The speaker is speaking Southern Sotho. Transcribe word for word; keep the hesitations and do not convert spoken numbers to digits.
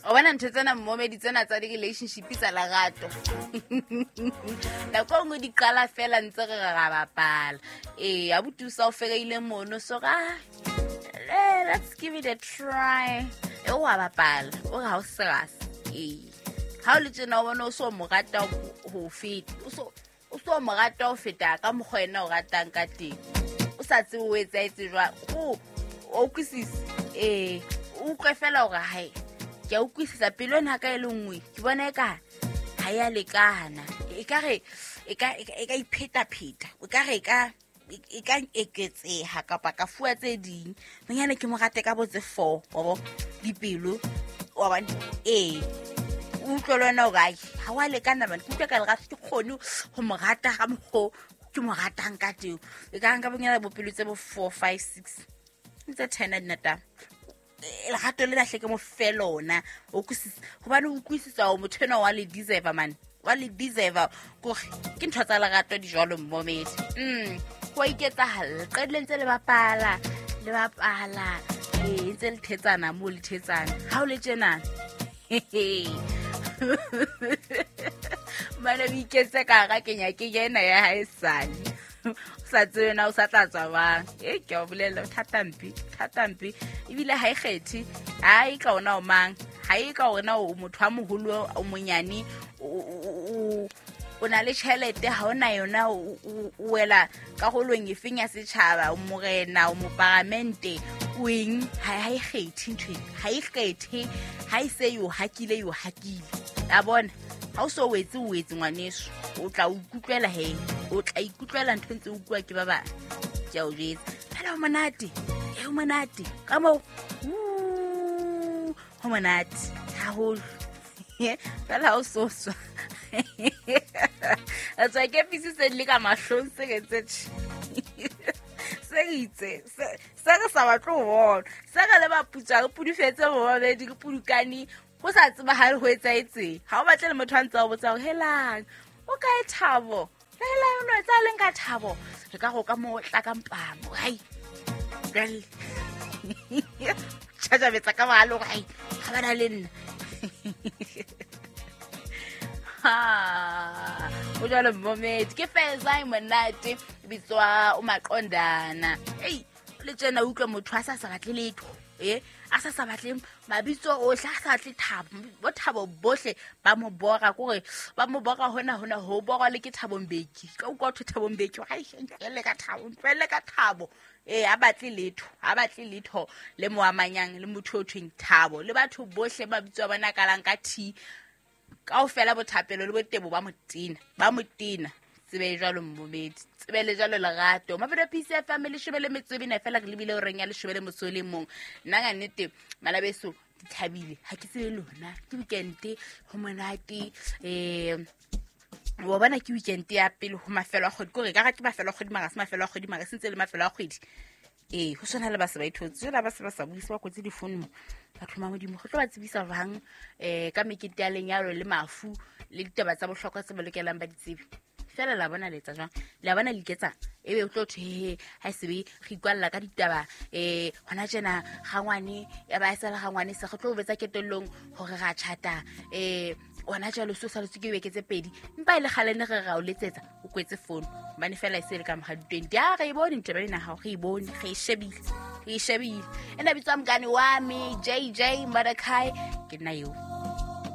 O bona ntho tsena mmomedi tsena tsa di-relationship tsa lerato. Nako e nngwe di qala fela ntse re re ra bapala. Ee, abuti o sa o fereile mono so ra eh, let's give it a try. E o wa bapala, o re ha o serious. Ee. Ha o le tjena o bona o so mo rata ho feta. O so o so mo rata ho feta ka mokgwa ena o ratang ka teng. O sa tsebe o etsahetse jwang. O o utlwisise. Ee, o utlwe fela hore hae ke a utlwisisa pelo ena ka e le nngwe ke bona eka ha ya lekana ekare e ka e ka iphetapheta o ka re ka e ka eketseha kapa ka fuwa tse ding bonyane ke mo rate ka bo tse four wa bo dipelo wa bona ee o utlwe le wena hore ai ha wa lekana bane ke utlwa ka lerato ke kgone ho mo rata ka mokgo ke mo ratang ka teng e ka nka bonyane bopelo tse bo four five six tse ten a dinata lerato le lahle ke mo fe lona o utlwisisa hobane o utlwisisa hore motho enwa wa le deserve man wa le deserve kore ke ntho tsa lerato di jwalo mmomedi mm ho a iketsahalla qedile ntse le bapala le bapala ee ntse le thetsana moo le thetsana ha o le tjena mane o iketse ka hara kenya kenya ena ya hae sale o sa tsebe na o sa tla tswa bang e ke a o bolella thata mpe thata mpe ebile ha e kgethe ha e ka ona o mang ha e ka ona o motho a moholo o monyane o o na le tjhelete ha ona yona o wela karolong efeng ya setjhaba o morena o moparamente o eng ha e kgethe ntho ha e kgethe ha e se yo hakile yo hakile a bona ha o so wetse o wetse ngwaneso o tla o ikutlwela he o tla ikutlwela ntho ntse o utlwa ke ba bang ke a o jwetsa fela ho monate e ho monate ka moo ho monate haholo fela ha o so swa a tswa ke pisi se le ka mahlong se ke tse se itse se re sa batle ho bona se re le baputswa re pudufetse bobabedi re pudukane ho sa tseba ha ho etsahetseng ha o batle le motho a ntse a o botsa hore helang o kae Thabo helang o no etsa leng ka Thabo re ka go ka mo tla ka mpamo hai jwale tjhajabetsa ka bohale hore hai ha bana le nna ha o jwalo mmomedi ke Feza monate bitswa o maqondana ei le tjena utlwa motho a sa sa batle letho eh a sa sa batle mabitso ohle a sa batle Thabo bo Thabo bohle ba mo bora kore ba mo bora hona hona ho borwa le ke Thabo Mbeki ka utlwa thwe Thabo Mbeki ai ntlele ka Thabo ntlele ka Thabo eh a batle letho a batle letho le mo amanyang le motho o thweng Thabo le batho bohle ba bitswa bona kalang ka T kaofela bothapelo le botebo ba motina ba motina tsebe jwalo mmomedi tsebe le jwalo lerato Mabedo P C F M leshome le metso e mene fela re lebile horeng ya leshome le motso le mong nna ka nnete malabeso ke thabile ha ke tsebe lona ke weekend ho monate eh wa bona ke weekend ya pele ho mafelo a kgwedi kore ka ga ke mafelo a kgwedi mara se mafelo a kgwedi mara se ntse le mafelo a kgwedi ee ho tshwana le ba se ba ithotse jwale ba se ba sa buise ba kwetse difounu mo batho ba Modimo go tlo ba tsebisa jwang um ka mekete ya lenyalo le mafu le ditaba tsa bohlokwa tse ba lokelang ba di tsebe fela la bona letsa jwang la bona le iketsang ebe o tlo thwe he ha e sebe re ikwalla ka ditaba um hona tjena gangwane ya ba e sala gangwane se re tlo betsa ketellong hore ra tjhata um ona jwale so saletse ke beke tse pedi mpa e le kgale ne re ra o letsetsa o kwetse founu hobane fela e se le ka mora di-twenty a re e bone ntho ena hao re e bone re e shebile re e shebile ena bitswa mokane wa me J J Mordecai ke nna eo.